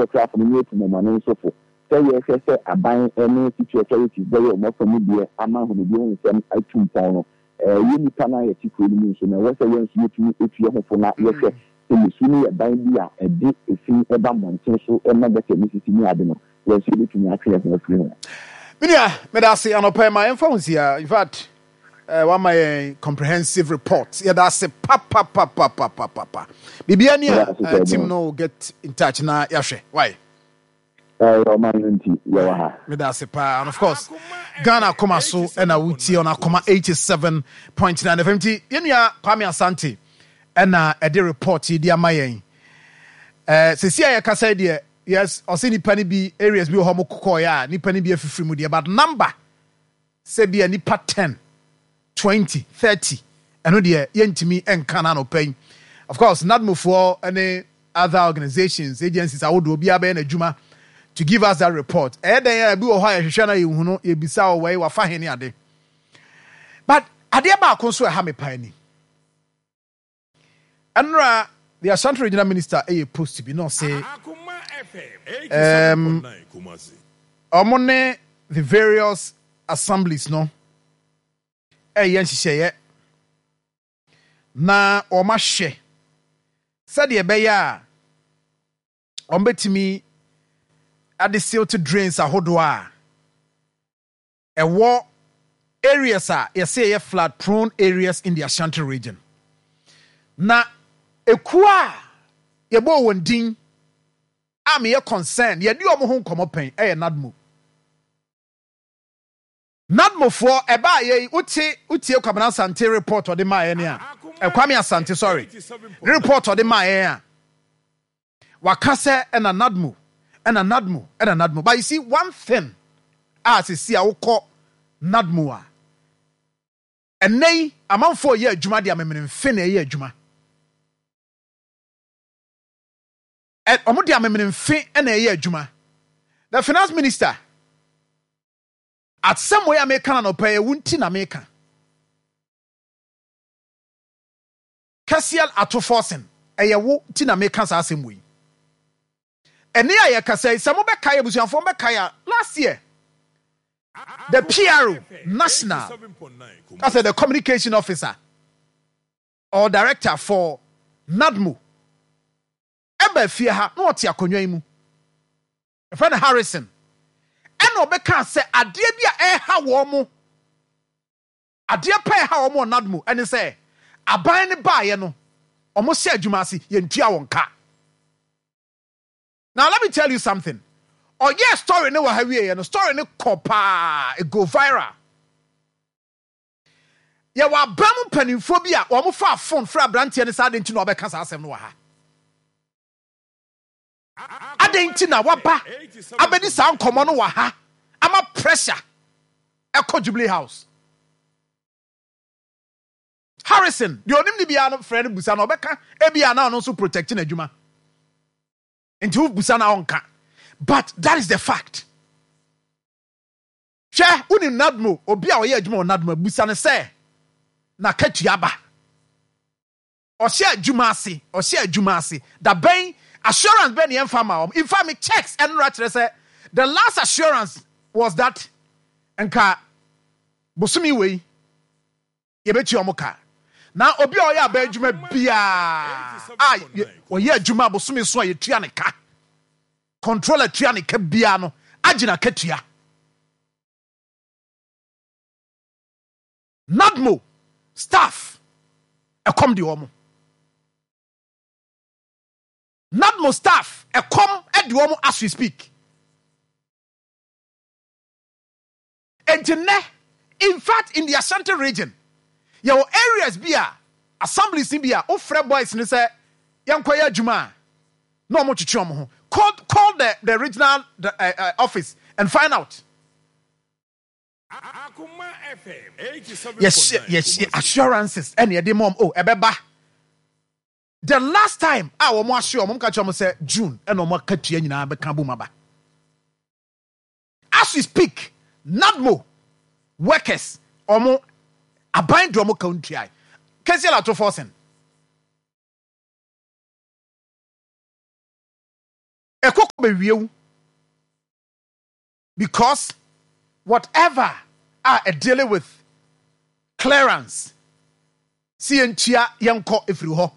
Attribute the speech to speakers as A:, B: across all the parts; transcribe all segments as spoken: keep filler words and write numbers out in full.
A: Ɔkrafo no ne atumamane nso fo sɛ yɛhwɛ sɛ aban ne city authorities bɛyɛ ɔmo afa mu deɛ ama ahomedie ho nsɛm atu mpɔn no. ɛɛ yɛ nipa no a yɛte kuro no mu nso na ɛwɔ sɛ yɛn nso yɛtumi etu yɛn ho fo na yɛhwɛ sɛ yɛsu no yɛ ban bi a ɛde efi ɛba mmɔnten so, ɛma gutter mu sisi ne ade no, yɛn nso yɛbɛtumi atwe yɛn ho afiri ho.
B: Menua, meda ase anɔpɛ ma yɛmfa wo nsia. In fact, uh, wama yɛn comprehensive report. Yɛda ase papapapapapapa. Biribia ni a, uh, team no will get in touch na yɛahwɛ why.
A: Ɛyɛ ɔman no nti yɛwɔ ha.
B: Meda ase paa. And of course, Ghana Akoma so ɛna wotie on Akoma eighty-seven point nine F M. Nti yɛnua Kwame Asante ɛna ɛde report yi de ama yɛn. ɛɛ sisi a yɛkasa yi deɛ, yes, ɔsɛ nipa no bi, areas bi wɔ hɔ mo kɔkɔɔyɛ a nipa no bi afifiri mu deɛ, but number sɛ bi a nipa ten, twenty, thirty, ɛno deɛ yɛntumi nka no anɔpa yi. Of course, NADMOfoɔ ne other organizations, agencies ahodoɔ, obiara bɛyɛ n'adwuma to give us that report. Ɛyɛ dɛn a ebi wɔ hɔ a yɛhwehwɛ na yɛhu no, yɛbisa wɔ wɔ wafa he ne ade. But adeɛ baako nso ɛha me paa ni: ɛnora the Ashanti Regional Minister ɛyɛ post bi na ɔse um, ɔmo ne the various assemblies no ɛyɛ nhyehyɛeɛ na wɔn ahwɛ sɛdeɛ ɛbɛyɛ a wɔn bɛtumi ade silt drains ahodoɔ a ɛwɔ areas a yɛsɛ yɛyɛ flood prone areas in the Ashanti Region. Na ekuo a yɛbɔ wɔn din a meyɛ concern, yɛde wɔn ho nkɔmɔ pɛn, ɛyɛ NADMO. NADMOfoɔ ɛbaa yɛ yi, wote wotie Kwamina Asante report ɔde maa yɛn a, ɛkwame Asante, sorry, ne report ɔde maa yɛn a waka sɛ ɛna NADMO, ɛna NADMO, ɛna NADMO. But you see, one thing a sisi a wokɔ NADMO a ɛnɛ yi, amanfoɔ yɛ adwuma de amemene mfe na ɛyɛ adwuma. Ɛ ɔmo de amemene mfe na ɛyɛ adwuma. The finance minister, asɛm wei a meka na nɔpɛ yɛ wo nti na meka. Cassiel Ato Forson, ɛyɛ wo nti na meka saa asɛm wei. Ɛne a yɛkasa yi, sɛ mobɛkae, abusuafoɔ mobɛkae a, last year the P R O national, that's the communication officer or director for NADMO, ɛba fie ha na ɔte akonnwa yi mu, ɛfɛ no Harrison, ɛna ɔbɛka sɛ adeɛ bi a ɛha wɔn mo, adeɛ pa ɛha wɔn wɔ NADMO ɛne sɛ aban ne baayɛ no, wɔn hyɛ adwuma ase, yɛntua wɔn ka. Now let me tell you something. Ɔyɛ story ne wɔ ha wie yɛ no, story ne kɔ paa, it go viral. Yɛwɔ aban mu mpanimfoɔ bi a wɔn fa phone frɛ aberanteɛ no saa de nti na ɔbɛka saa asɛm no wɔ ha. Adɛn nti na waba abɛdi saa nkɔmmɔ no wɔ ha ama pressure ɛkɔ Jubilee House? Harrison deɛ, onim ne biara no, frɛ no busa na ɔbɛka. Ebia na ɔno nso protect n'adwuma nti wobusa na ɔnka, but that is the fact. Hwɛ, wonim NADMO, obi a ɔyɛ adwuma wɔ NADMO, busa no sɛ n'akatua ba. Ɔhyɛ adwuma ase, ɔhyɛ adwuma ase da bɛn? Assurance bɛn ne yɛmfa ma wɔn? In fact, me checks ɛnora kyerɛ sɛ the last assurance was that nka bosomi wei yɛbɛtua wɔn ka. Na obi a ɔyɛ aba adwuma biara a ɔyɛ adwuma bosomi so a yɛtua ne ka, controller tua ne ka biara no, agye n'akatua. NADMO staff, ɛkɔm de wɔn. NADMO staff, ɛkɔm de wɔn as we speak. Nti nnɛ, in fact, in the Ashanti Region, yɛwɔ areas bi a assemblies ni bi a wofrɛ boys ni sɛ yɛnkɔyɛ adwuma a, na wɔn twetwe wɔn ho. call call the the regional the, uh, uh, office and find out. Yɛhyɛ yɛhyɛ assurances ɛna yɛde mɔm o, ɛbɛba. The last time a wɔn ahyɛ wɔn ka kyerɛ wɔn sɛ June ɛna wɔn akatua nyinaa bɛka bom aba. As we speak, NADMO workers, wɔn aban de wɔn ka ntua. Cassiel Ato Forson, Ɛkɔkɔ bɛwie wo because whatever a dealing with clearance si yɛntua yɛnkɔ ɛfiri hɔ.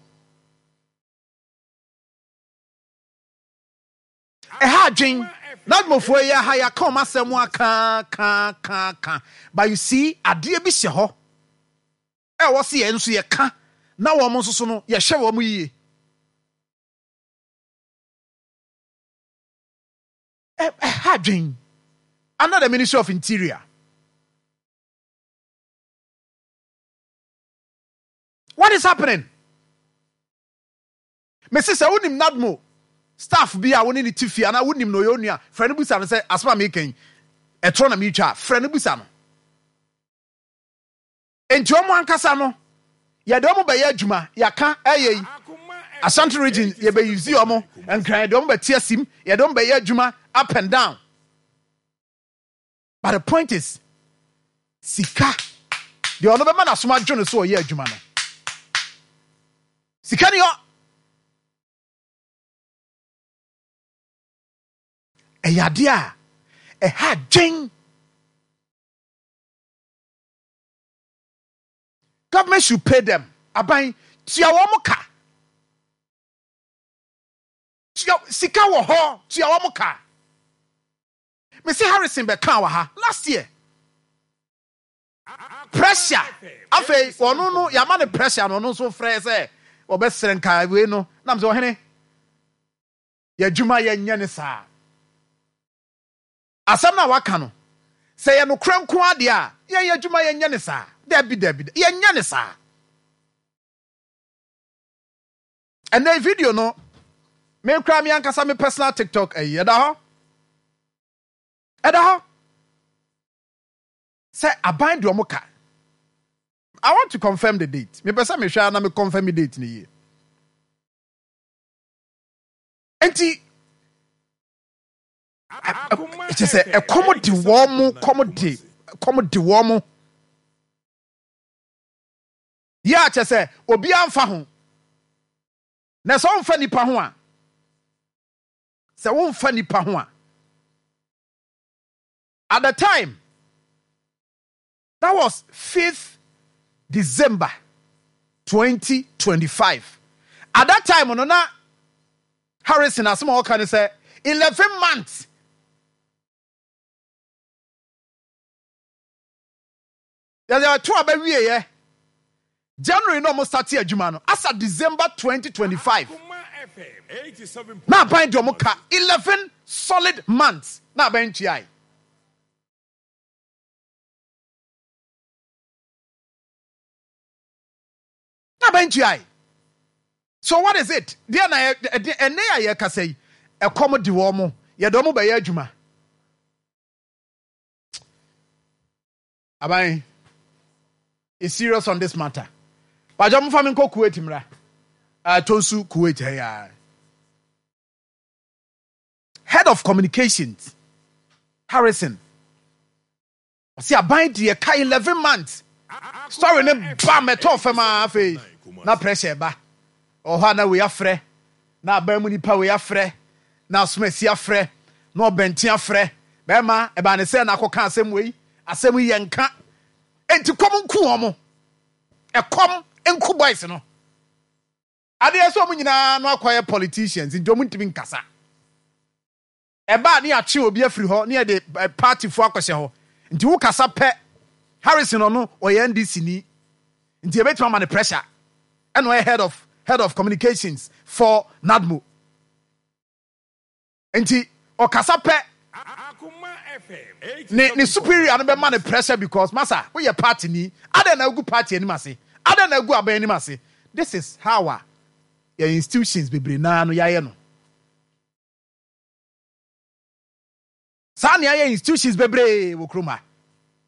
B: Ɛha adwen NADMOfoɔ yi aha yɛaka ɔm asɛm aka ka ka ka, but you see, adeɛ bi hyɛ hɔ ɛwɔ sɛ yɛn nso yɛka na wɔn nso so no yɛhwɛ wɔn yie. Ɛha adwen under the Ministry of Interior. What is happening? Mesi sɛ wonim NADMO staff bi a wo ne ne ti fie anaa wonim no ɔyɛ onua, frɛ no busa no sɛ asɛm a meka yi ɛtorɔ na meretwa a, frɛ no busa no. Enti ɔmo ankasa no yɛde ɔmo bɛyɛ adwuma yɛaka ɛyɛ yi Ashanti Region yɛbɛyuzi ɔmo, Nkran yɛde ɔmo bɛte asim, yɛde ɔmo bɛyɛ adwuma up and down. But the point is, sika deɛ ɔno bɛma n'asom adwo no so ɔyɛ adwuma no, sika ni hɔ. Ɛyɛ adeɛ a ɛha dwen. Government should pay them. Aban tua wɔn ka. Tua sika wɔ hɔ, tua wɔn ka. Mesi Harrison bɛka wɔ ha last year. Pressure. Afei ɔno no yɛama no pressure no, ɔno nso frɛ sɛ ɔbɛsrɛ nka wei no nam sɛ ɔhene yɛadwuma yɛnyɛ ne saa. Asɛm no a waka no sɛ yɛ nokorɛ nko adeɛ a, yɛyɛ adwuma yɛnyɛ ne saa. Dabi dabi, yɛnyɛ ne saa. Ɛnɛ video no me kura me ankasa me personal TikTok ɛyi ɛda hɔ, ɛda hɔ sɛ aban de ɔmo ka. I want to confirm the date. Mepɛ sɛ mehwɛ na me confirm the date ne yie. Nti kyɛ sɛ ɛkɔm de wɔn mo, kɔm de kɔm de wɔn mo yɛ a kyɛ sɛ obiara mfa ho. Na sɛ ɔmfa nipa ho a, sɛ womfa nipa ho a, at the time that was fifth December twenty twenty-five. At that time no na Harrison asɛm a ɔka ne sɛ eleven months yɛde ato aba wieɛ January na ɔmo start adwuma no asa December twenty twenty-five na aban de ɔmo ka eleven solid months na aban ntuae. Na aban ntuae. So what is it? Deɛ na ɛde ɛnɛ a yɛkasa yi, ɛkɔm de wɔn mo, yɛde ɔmo bɛyɛ adwuma. Aban is serious on this matter. Bàjẹ́ mo fa mi nkɔ Kuwait mra uh, Tonsu Kuwait ha ya. Head of Communications Harrison ɔsi aban deɛ ka eleven months. Story ne ba mɛtɔ fam a, afei na pressure ba ɔhɔ a na wei afrɛ na aban mu nipa wei afrɛ na asomasi afrɛ na ɔbɛnten afrɛ bɛrima ɛbaa ne sɛ na akɔka asɛm wei, asɛm yi yɛ nka. Enti kɔm nku wɔn, ɛkɔm nku boys no. Adeɛ sɛ wɔn nyinaa no akɔyɛ politicians nti wɔn ntumi nkasa. Ɛbaa ne yɛatwe obi afiri hɔ ne yɛde partyfoɔ akɔhyɛ hɔ. Nti wo kasa pɛ, Harrison ɔno ɔyɛ N D C ni nti yɛbɛtumi ama ne pressure, ɛna ɔyɛ head of head of communications for NADMO nti ɔkasa pɛ, ne ne superior no bɛma ne pressure because masa woyɛ party ni, adɛn na agu party anim ase, adɛn na agu aban anim ase? This is how a yɛ institutions bebree naa no yɛayɛ no saa. Nea yɛ institutions bebree wɔ kurom ha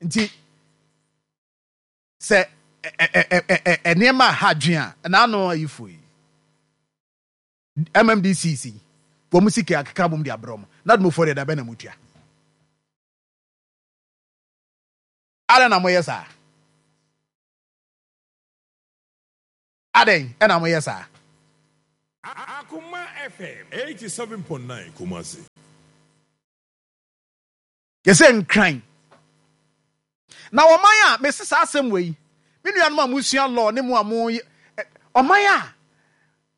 B: nti sɛ nneɛma a ha adwene a n'ano ayifo yi M M D C C wɔn sika akeka bom de abrɛ wɔn na NADMOfoɔ deɛ dabɛ na mutua. Adɛn na moyɛ saa? Adɛn ɛna moyɛ saa?
C: Akuma F M eighty-seven point nine Kumasi.
B: Yɛsɛ Nkran na ɔman a mesi saa asɛm wei, me nuanom a musua law ne mu a mo ɔman a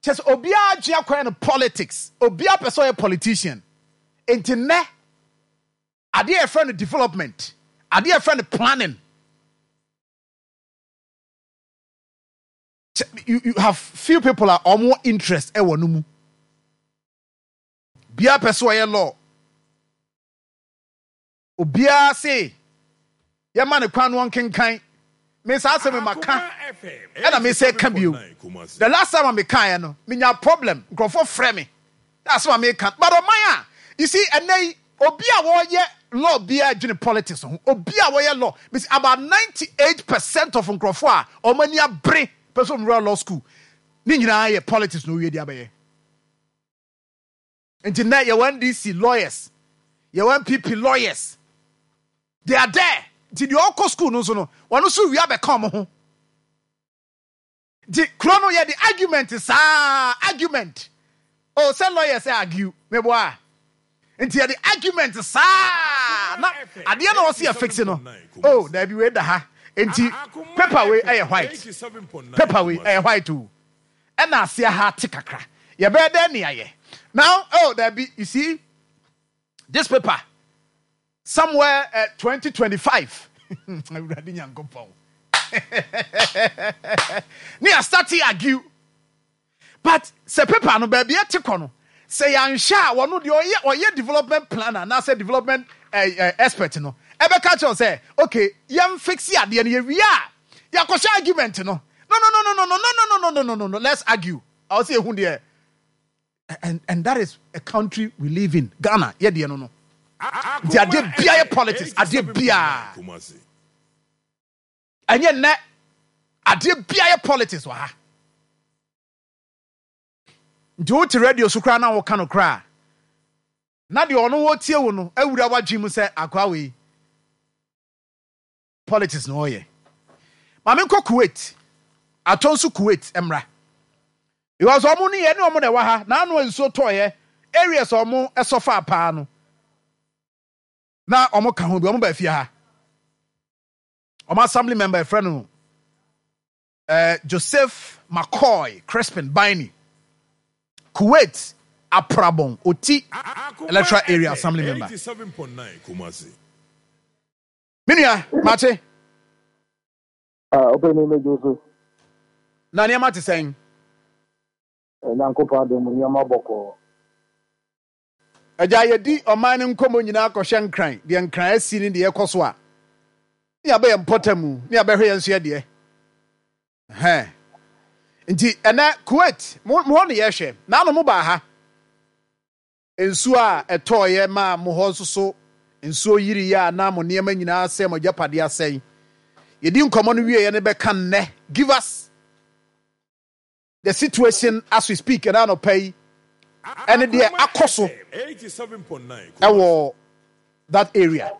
B: kyɛ sɛ obiara gye akɔyɛ no politics, obiara pɛ sɛ ɔyɛ politician. Nti nnɛ adeɛ a yɛfrɛ no development, adeɛ a yɛfrɛ no planning, you, you have few people a ɔmo interest ɛwɔ no mu. Biara pɛ sɛ ɔyɛ law, obiara se yɛma ne kwan no ɔnkenkan. Me saa asɛm ma ka ɛna me sɛ ka bio. The last time a mekaeɛ no, menya problem, nkurɔfoɔ frɛ me na asɛm a meka. But ɔman a, you see, ɛnɛ yi obi a wɔyɛ law biara dwene politics ho. Obi a wɔyɛ law, mesi about ninety eight percent of nkurɔfoɔ a wɔn ani abere pɛ sɛ wɔn law school ne nyinaa yɛ politics na owie de abɛyɛ. Nti nnɛ yɛwɔ N D C lawyers, yɛwɔ N P P lawyers, they are there. Nti deɛ ɔkɔ school no nso no, wɔn nso wia bɛka wɔn ho. Nti kuro no yɛde argument saa, argument o, sɛ lawyers sɛ argue meboa, nti yɛde argument saa na adeɛ na ɔsi yɛ fix no. Oh, daabi, wei da ha, nti paper wei ɛyɛ white, paper wei ɛyɛ white o, ɛna aseɛ ha te kakra, yɛbɛyɛ dɛ ne ayɛ now. Oh, daabi, you see this paper somewhere uh, twenty twenty-five, Awurade Nyankopɔn, ne yɛ start argue. But sɛ paper no baabi ɛte kɔ no, sɛ yɛanhwɛ a, wɔno deɛ ɔyɛ ɔyɛ development planner anaasɛ development uh, uh, expert no ɛbɛka kyerɛw sɛ okay, yɛn fix adeɛ no, yɛwie a yɛakɔhyɛ argument no. No, no, no, no, no, no, no, no, no, no, no, no, no, let's argue. Ɔwɔ sɛ yɛhu deɛ and and that is a country we live in, Ghana. Yɛ deɛ no no nti adeɛ bia yɛ politics, adeɛ bia ɛnyɛ nnɛ, adeɛ bia yɛ politics wɔ ha. Nti wote radio so koraa na woka no koraa na deɛ ɔno wɔtie wo no awura w'adwene mu sɛ akoa wei politics na ɔyɛ. Maame, nkɔ Kuwait atɔ nso, Kuwait mmra, because ɔmo ne yɛ ne ɔmo na ɛwɔ ha na ano nsuo tɔɔyɛ, areas a ɔmo ɛsɔfa paa no na ɔmo ka ho bi. Ɔmo ba fie ha, ɔmo assembly member ɛfrɛ no uh, Joseph McCoy Crispin Biney, Kuwait Aprabon Oti Electoral Area assembly member.
C: eighty-seven point nine Kumasi.
B: Me nua, mate.
D: Ɔpɛni, mɛgye so.
B: Na nneɛma te sɛn?
D: Nyankopɔn adom, nneɛma bɔkɔɔ.
B: Agya, yɛdi ɔman no nkɔmmɔ nyinaa kɔhwɛ Nkran deɛ, Nkran asi ne deɛ ɛkɔ so a ne yɛabɛyɛ mpɔta mu ne yɛabɛhwɛ yɛn nso yɛ deɛ hɛn. Nti ɛnɛ Kuwait mo mo hɔ ne yɛhwɛ naano mo baa ha, nsuo a ɛtɔɔyɛ maa mo hɔ nso so nsuo yiriiɛ a na mo nneɛma nyinaa sɛ mo agyapadeɛ asɛe. Yɛdi nkɔmmɔ no wieɛ no, bɛka nnɛ, give us the situation as we speak ɛna anɔpa yi ɛne deɛ akɔ so
C: eighty-seven point nine
B: ɛwɔ that area.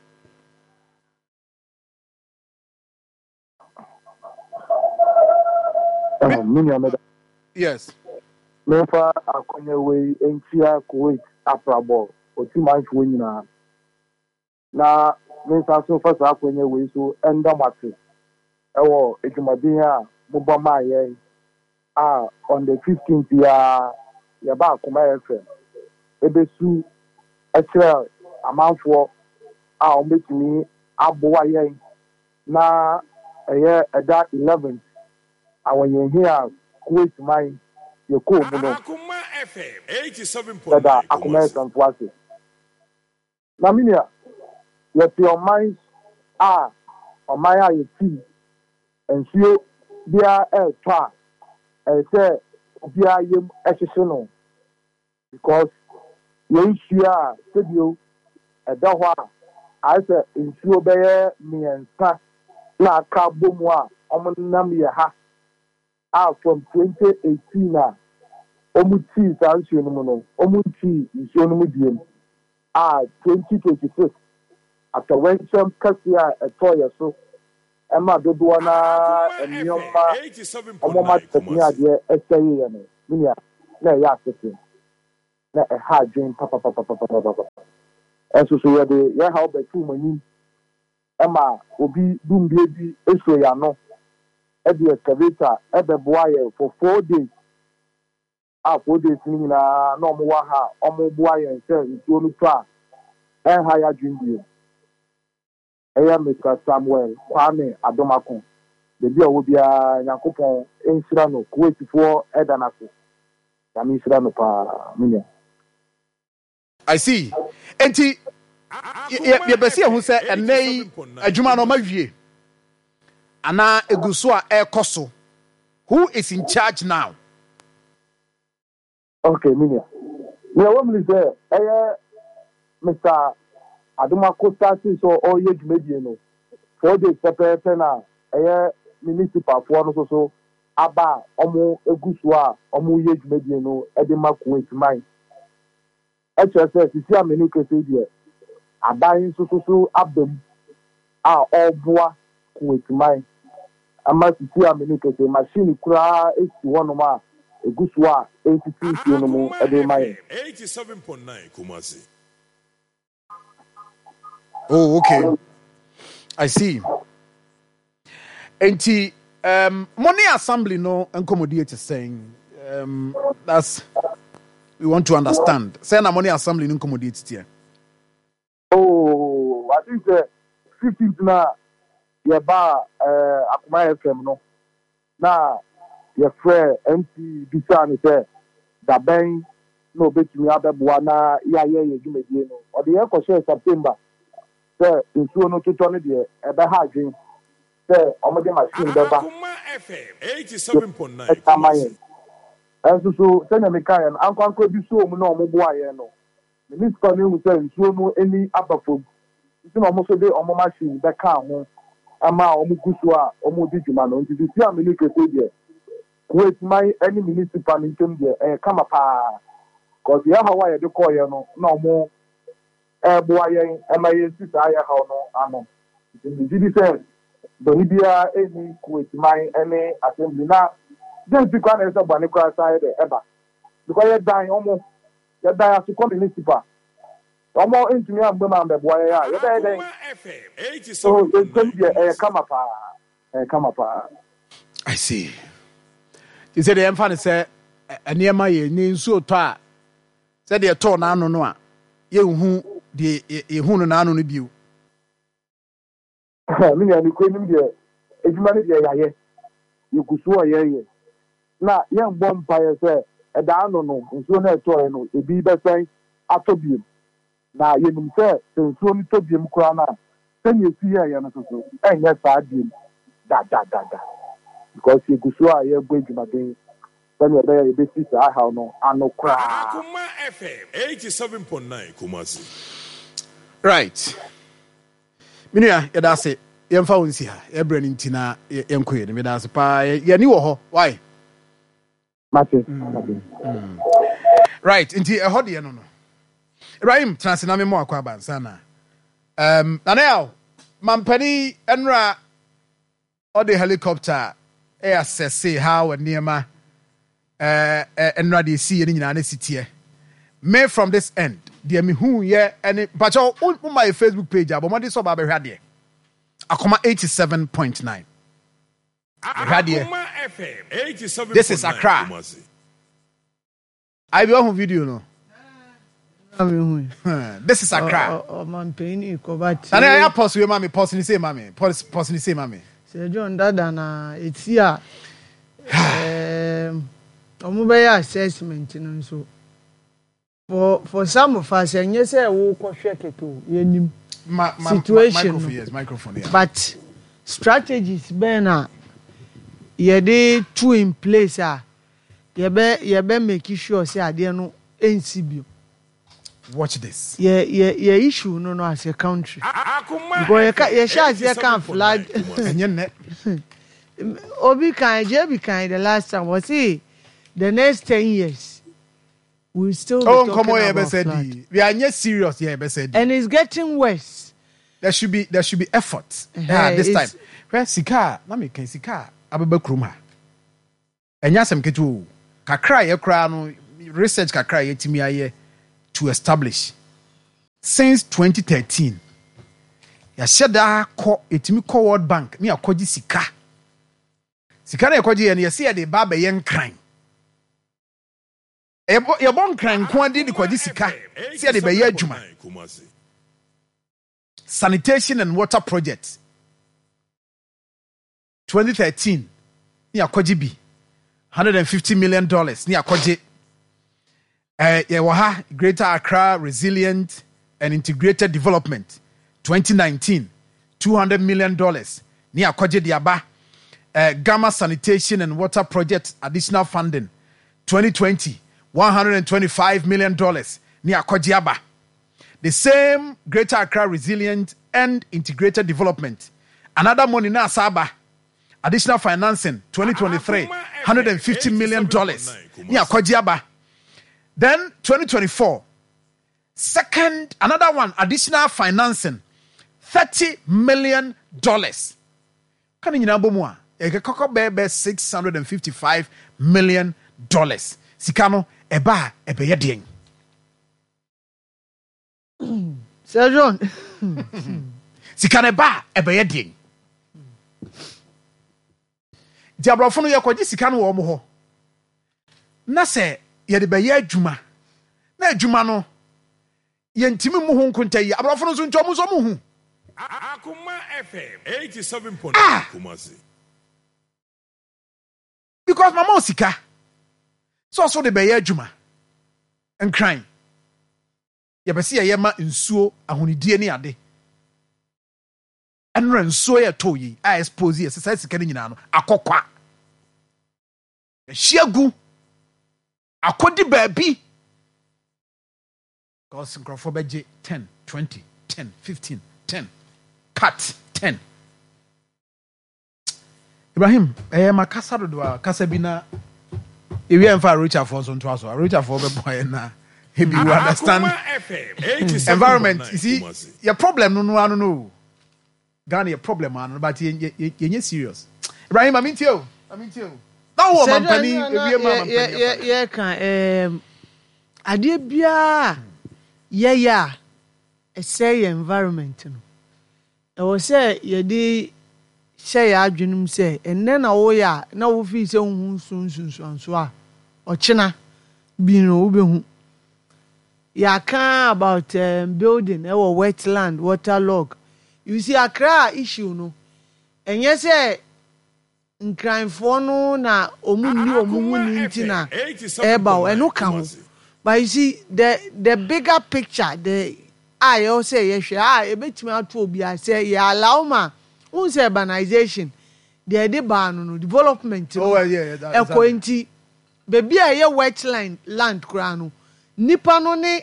D: Me nua, meda.
B: Yes.
D: Memfa akɔnya wei ntia Kuwait Aprabɔ Otimanfoɔ nyinaa na mensa so fa saa akɔnya wei so ɛnda mo ase ɛwɔ adwumaden a mobɔ maa yɛn a on the fifteenth a yɛba Akoma F M ebesu ɛkyerɛ amanfoɔ a wɔbɛtumi aboa yɛn na ɛyɛ ɛda eleventh awɔnyɛnhi a Kuwait man yɛkɔɔ mu no.
C: Akuma F M eighty-seven point nine
D: Yɛda Akoma
C: Kumasi.
D: F M fo ase. Na me nua, yɛte ɔman a ɔman a yɛti nsuo biara ɛretɔ a, ɛyɛ sɛ obiara yam ɛhyehye no, because yɛn nsuo a sɛbio ɛda hɔ a ayɛ sɛ nsuo bɛyɛ mmiɛnsa na aka bɔ mu a wɔnam yɛ ha a from twenty eighteen a wɔn tii saa nsuo no mu no, wɔn ntii nsuo no mu biem a twenty twenty-six atɔwɛnkyɛm kɛseɛ a ɛtɔɔ yɛ so ɛma dodoɔ naa nneɛma
C: Akuma
D: wɔn
C: eighty-seven point nine
D: atɛtene
C: Kumasi.
D: adeɛ ɛsɛe yɛ no, me nua. na ɛyɛ asese na ɛha adwen papapapapapapa. Ɛnso so yɛde yɛn haw bɛto wɔn anim ɛma obi dumbie bi esuro yɛn ano ɛde excavator ɛbɛboa yɛn for four days a four days no nyinaa na wɔn wɔ ha a wɔn boa yɛn sɛ nsuo no tɔ a ɛnha yɛ adwen bio. Ɛyɛ Mr Samuel Kwame Adomako, beebi a ɔwɔ biara Nyankopɔn nhyira no. Kuwaitfoɔ ɛda n'ase, Nyame nhyira no paa, me nua.
B: I see. Enti yɛbɛsi yɛn ho sɛ ɛnnɛ yi adwuma no ɔma wie anaa egu so a ɛrekɔ so? Who is in charge now?
D: Okay, me nua, nea ɛwɔ mu ni sɛ ɛyɛ Mr Adomako start sɛ ɔreyɛ dwumadie no four days pɛpɛɛpɛ na ɛyɛ municipalfoɔ no nso so aba a wɔn egu so a wɔreyɛ dwumadie no de ma Kuwait man. Ɛkyerɛ sɛ sisi a menu kese deɛ, aban nso so so aba mu a ɔreboa Kuwait man ama sisi a menu kese machine koraa esi hɔnom a egu so a esisi nsuo no mu de ma yɛn.
C: eighty-seven point nine Kumasi.
B: Oh, okay, I see. Enti um, mo ne assembly no nkɔmmɔdie te sɛn? um, that's we want to understand sɛ na mo ne assembly no nkɔmmɔdie teteɛ.
D: Oh, I think sɛ fifteenth na yɛba ɛɛ Akoma F M no na yɛfrɛ M C bisa no sɛ dabɛn na obetumi abɛboa na yɛayɛ yɛ dwumadie no. Ɔde yɛn kɔhyɛɛ September sɛ nsuo no totɔ no deɛ, ɛbɛha adwen sɛ ɔmode machine bɛba
C: Akoma F M eighty-seven point nine
D: ɛka ama
C: Kumasi.
D: yɛn. Ɛnso so sɛnea meka yɛn no, ankorankora bi so mu na ɔmo boa yɛn no, municipal no ehu sɛ nsuo no ani aba fam nti na ɔmo nso de ɔmo machine bɛka ho ama a ɔmo gu so a ɔmo di dwuma no. Nti sisi a mene kese deɛ, Kuwait man ne municipal no ntam deɛ, ɛyɛ kama paa, cause yɛn haw a yɛde kɔɔyɛ no na ɔmo ɛɛboa yɛn ɛma yɛsi saa yɛ haw no ano. Nti megye di sɛ bɔne biara ɛnni Kuwait man ne assembly na den ti koraa na ɛsɛ bɔne koraa saa yɛ dɛ ɛba, because yɛdan ɔmo yɛdan asokɔ municipal, ɔmo ntumi ambɛ mu ambɛboa yɛn a, yɛbɛyɛ dɛn?
C: Akoma F M
D: So yɛntɛm
C: eighty-seven point nine
D: deɛ, ɛyɛ
C: Kumasi.
D: kama paa, ɛyɛ kama paa.
B: I see. Te sɛ deɛ yɛmfa no sɛ ɛ- nneɛma yɛ ne nsuo tɔ a, sɛdeɛ ɛtɔɔ n'ano no a, yɛnhu deɛ yɛ- yɛhu no n'ano no bio.
D: Me nua, nokura nim deɛ, adwuma no deɛ yɛayɛ, yɛgu so a yɛyɛ na yɛmbɔ mpaeɛ sɛ ɛdaa no no nsuo no ɛtɔɔɛ no ebi bɛsɛn atɔ biom, na yɛnim sɛ sɛ nsuo no tɔ biom koraa no a, sɛnea esi yɛɛyɛ no soso ɛnyɛ saa biom dadadada, because yɛgu so a yɛbɔ adwumaden sɛnea ɛbɛyɛ yɛbɛsi saa haw no ano koraa.
C: Akoma F M eighty-seven point nine Kumasi.
B: Right, me nua, yɛda ase. Yɛmfa wo nsi ha, yɛbrɛ no nti na yɛ- yɛnkɔ yɛ no. Meda ase paa. Yɛ- yɛni wɔ hɔ why.
D: Mate, mate.
B: Right, nti ɛhɔ deɛ no no Ibrahim tena ase na memmɔ akɔ abansa na um, nana yaw mampani ɛnora ɔde helicopter ɛyɛ asɛse how nneɛma ɛɛ ɛnora deɛ esi yɛ no nyinaa ne si teɛ. Me from this end deɛ mehu yɛ ɛne mpakyɛw wo ma yɛ Facebook page a, bɔ mmɔden sɛ ɔba abɛhwɛ adeɛ, Akoma eighty-seven point nine, bɛhwɛ adeɛ.
C: Akoma F M
B: This is
C: eighty-seven point nine
B: Accra.
C: Kumasi.
B: Ayi bi ɔho video no. This is Accra.
E: Ɔmampanyin kɔba tie.
B: Nana ɛyɛ pause wei ma me, pause ni se ma me, pause, pause ni se ma me.
E: Sɛ John dada na eti a ɛɛm, ɔmo bɛyɛ assessment no nso for for some of us, ɛnyɛ sɛ wokɔhwɛ kɛkɛ o, yɛnim
B: ma ma ma
E: situation
B: microphone
E: no.
B: Yes, microphone, yeah.
E: But strategies bɛn na yɛde to in place a yɛbɛ yɛbɛ make sure sɛ adeɛ no ɛnsi bio?
B: Watch this.
E: Yɛ yɛ yɛ issue no no as a country
C: Akoma
E: because yɛka
C: F M
E: yɛhyɛ aseɛ kan flood
C: eighty-seven point nine Kumasi.
B: Ɛnyɛ nnɛ.
E: Obi kan J B kan the last time wɔsi the next ten years we still be
B: Oh,
E: talking
B: nkɔmɔ yɛ
E: about
B: bɛsɛ
E: flood.
B: di, we are nyɛ serious, yɛ bɛsɛ di.
E: And it's getting worse.
B: there should be there should be effort.
E: Eh,
B: Yeah, this time
E: it's-
B: hwɛ sika a na mi kan sika a abɛba kurom ha, ɛnyɛ asɛm ketewa o, kakra a yɛ koraa no Research kakra a yɛtumi ayɛ to establish since twenty thirteen, yɛahyɛ daa kɔ, yɛtumi kɔ World Bank ne yɛakɔgye sika. Sika no yɛkɔgye yɛ no, yɛsɛ yɛde ba abɛyɛ Nkran. Yɛbɔ yɛbɔ Nkran nko adi de kɔgye sika sɛ yɛde bɛyɛ adwuma, sanitation and water project, twenty thirteen ne yɛakɔgye bi one hundred fifty million dollars ne yɛakɔgye. ɛɛ yɛwɔ ha, Greater Accra Resilient and Integrated Development, twenty nineteen, two hundred million dollars ne yɛakɔgye de aba. ɛɛ Gama sanitation and water project additional funding, twenty twenty, one hundred twenty-five million dollars ne yɛakɔgye aba. The same Greater Accra Resilient and Integrated Development, another money na asa aba, additional financing, twenty twenty-three, one hundred fifty million dollars ne akɔgye aba. Then twenty twenty-four, second, another one, additional financing, thirty million dollars. Ka ne nyinaa bɔ mu a, ɛkɔkɔ bɛyɛ bɛ six hundred fifty-five million dollars. Sika no ɛba a, ɛbɛyɛ deɛn?
E: Sir John.
B: Sika no ɛba a, ɛbɛyɛ deɛn? Nti aborɔfo no, yɛkɔgye sika no wɔ ɔmo hɔ na sɛ yɛde bɛyɛ adwuma na adwuma no yɛntumi mu ho nkonta yi, aborɔfo no nso nti ɔmo nso ɔmo hu.
C: Akoma F M eighty-seven point nine
B: Ah!
C: Kumasi.
B: Because mama o sika sɛ ɔso de bɛyɛ adwuma Nkran, yɛbɛ sɛ yɛyɛ ma nsuo ahonidie ne ade. Ɛnora nsuo yɛ tɔ yi a expose yɛ sɛ saa sika no nyinaa no akɔkwa ahyia gu akɔdi baabi, because nkurɔfoɔ bɛgye ten, twenty, ten, fifteen, ten, cut ten. Ibrahim, ɛyɛ ma kasa dodo a kasa bi na ewia mfa arochafoɔ nso ntoa so. Arochafoɔ bɛboa yɛn na ebi you understand.
C: Akoma F M
B: Environment, you see,
C: eighty-seven point nine Kumasi.
B: Yɛ problem no no ano no Ghana yɛ problem ano, but yɛ yɛ yɛnyɛ serious. Ibrahim, maame ntie o, maame ntie o, na wɔ mampanin ewie ma mampanin afa.
E: Yɛka adeɛ biara yɛyɛ a ɛsɛe yɛ environment no, ɛwɔ sɛ yɛde hyɛ yɛ adwenem sɛ ɛnnɛ na woyɛ a na wofii sɛ wohu nso nsunsuanso a ɔkyena bi no wobɛhu. Yɛaka about um, building ɛwɔ wetland, waterlog. You see, Accra issue no, ɛnyɛ sɛ Nkranfoɔ no na ɔmu nni ɔmo ho ni nti na ɛɛba o, ɛno ka ho, but you see, the the bigger picture, the a yɛwɔ sɛ yɛhwɛ a ebetumi ato obiara sɛ yɛ allow ma n sɛ urbanization deɛ ɛde baa no no development no
B: Oh, yeah, yeah, that-
E: ɛkɔ
B: exactly.
E: Nti beebi a ɛyɛ wetland land koraa no, nipa no ne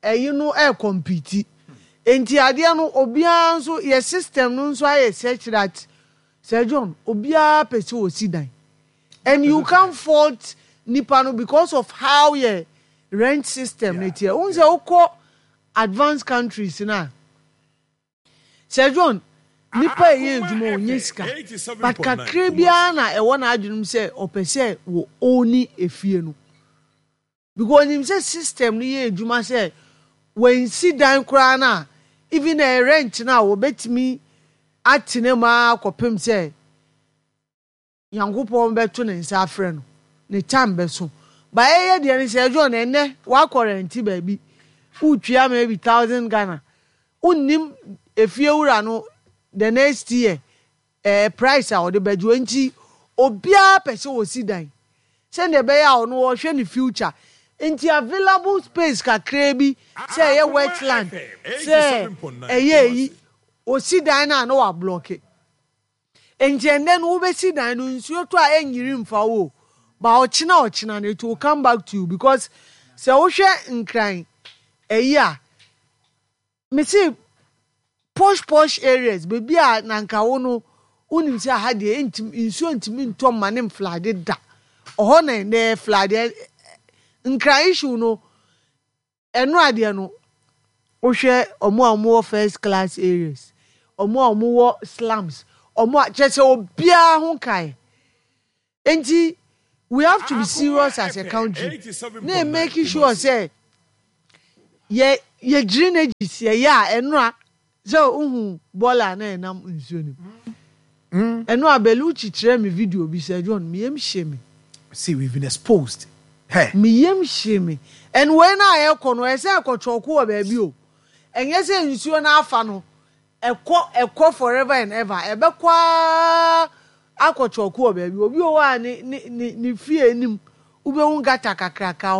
E: ɛyi no ɛɛcompete. Nti adeɛ no, obiara nso yɛ system no nso ayɛ such that, Sir John, obiara pɛ sɛ osi dan, and you can't fault nipa no because of how yɛ rent system ne teɛ. N sɛ wokɔ advanced countries na, Sir John, nipa a ɛyɛ adwuma onye sika, but kakra biara na ɛwɔ n'adwenem sɛ ɔpɛ sɛ wɔ own efie no, because onim sɛ system no yɛ adwuma sɛ wɔnsi dan koraa na even ɛ rent na wɔbɛtumi atena mu akɔpem sɛ Nyankopɔn bɛto ne nsa afrɛ no, ne time bɛso. Ba ɛyɛ deɛ no sɛ John, ɛnɛ wakɔ rent baabi, wotua maybe thousand Ghana, wonnim efie wura no the next year ɛɛ price a ɔde bɛgye wɔn. Nti obiara pɛ sɛ wɔsi dan sɛdeɛ ɛbɛyɛ a ɔno ɔhwɛ ne future. Nti available space kakraa bi, sɛ ɛyɛ wetland, sɛ ɛyɛ eyi, osi dan no a na wablock. Nti ɛnɛ no wobɛsi dan no, nsuo tɔ a ɛnyiri mfa wo, ba ɔkyena ɔkyena no it will come back to you, because sɛ wohwɛ Nkran ɛyi a mesi posh posh areas, beebi a nanka wo no wonim sɛ aha deɛ ntumi nsuo ntumi ntɔ mma ne mflood da, ɔhɔ na ɛnɛ flood. Nkran issue no, ɛno adeɛ no, wohwɛ ɔmo a ɔmo wɔ first class areas, ɔmo a ɔmo wɔ slums, ɔmo a kyerɛ sɛ obiara ho kae. Nti We have to be serious as a country na yɛ make sure sɛ yɛ yɛ drainages yɛyɛ a ɛnora sɛ wohu bɔɔla a na ɛnam nsuo no mu. Ɛno a Bellucci kyerɛ me video bi sɛ John, me yam hye me.
B: See, we've been exposed. Hey.
E: Me yam hye me. And wei no a ɛkɔ no, ɛsɛ ɛkɔ kyɔko wɔ baabi o. Ɛnyɛ sɛ nsuo no afa no, ɛkɔ ɛkɔ forever and ever. Ɛbɛkɔ ara akɔ kyɔko wɔ baabi. Obi wɔ hɔ a ne ne ne ne fie anim wobɛhu gutter kakraka hɔ.